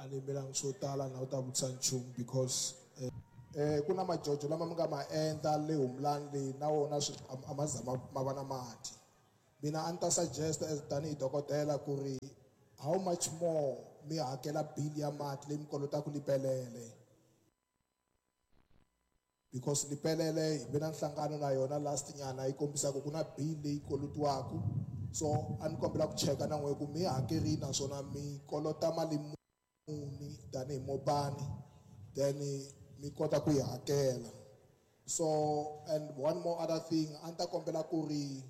A ni yimelanga swo tala na u ta vutisa nchumu because ku na majojo lama mi nga ma endla le Humlani leyi na wona swi a ma za ma va na mati. Mina a ni ta suggest as tanihi dokodela ku ri how much more mi hakela bill ya mati leyi mi kolotaka Lipelele, because Lipelele hi ve na nhlangano na yona last nyana yi kombisaka ku na bill leyi kolotiwaka. So a ni kombela ku cheka na n'we ku mi hakerini naswona mi kolota mali muni tanihi Mopani, then mi kota ku yi hakela. So and one more other thing, a ni ta kombela ku ri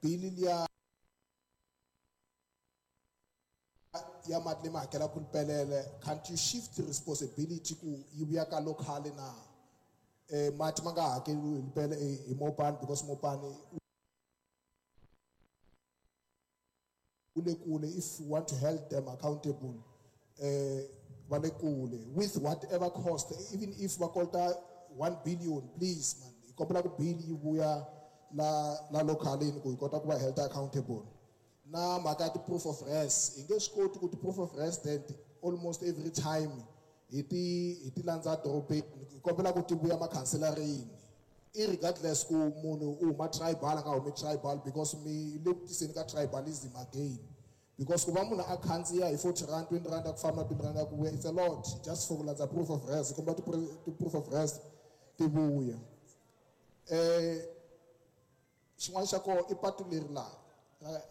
bill liya ya mati leyi mi hakelaka Lipelele, can't you shift responsibility ku yi vuya ka local na? Mati ma nga hakeriwi hi Lipele hi Mopani because Mopani wu le kule. If you want to hold them accountable, va le kule with whatever cost, even if va kolota 1 billion, please man, hi kombela ku bill yi vuya la localini ku hi kota ku va held accountable. Na mhaka ya ti-proof of res, hi nge swi koti ku ti-proof of resident almost every time hi ti landza dorobeni. Hi kombela ku ti vuya makhanselarini, irregardless ku munhu u huma tribal a nga humi tribal, because mi le ku tiseni ka tribalism again. Because ku va munhu a khandziya hi 40 rand, 20 rand ya ku famba na 20 rand ya ku vuya, it's a lot just for ku landza proof of res. Hi kombela ti-proof of res ti vuya. Xin'wana xa kona i patu leri laha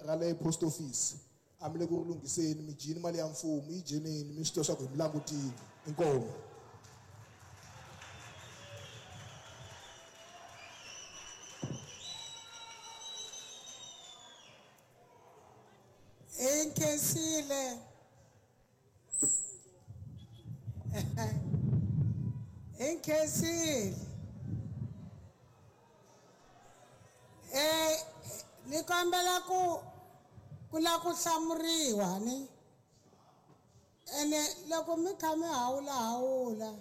ra le post office, a mi le ku ri lunghiseni, mi dyini mali ya mfumo, yi dyeneni, mi swi tiva swa ku hi mi langutile. Inkomu. Hi nkhensile. Hi nkhensile. Ni kombela ku la ku hlamuriwa ni. Ene loko mi kha mi hawula hawula,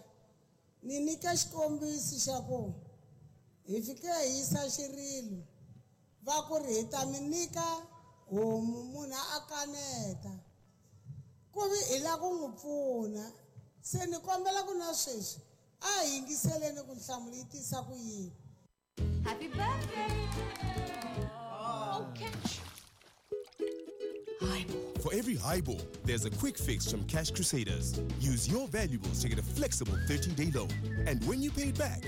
ni nyika xikombiso xa ku hi fike hi yisa xirilo, va ku ri hi ta mi nyika homu, munhu a kaneta. Ku vi hi la ku n'wi pfuna. Se ni kombela ku na sweswi a hi yingiseleni ku nhlamulo yi tisa ku yini. Happy birthday! Oh, catch! Highball. For every highball, there's a quick fix from Cash Crusaders. Use your valuables to get a flexible 30-day loan. And when you pay it back,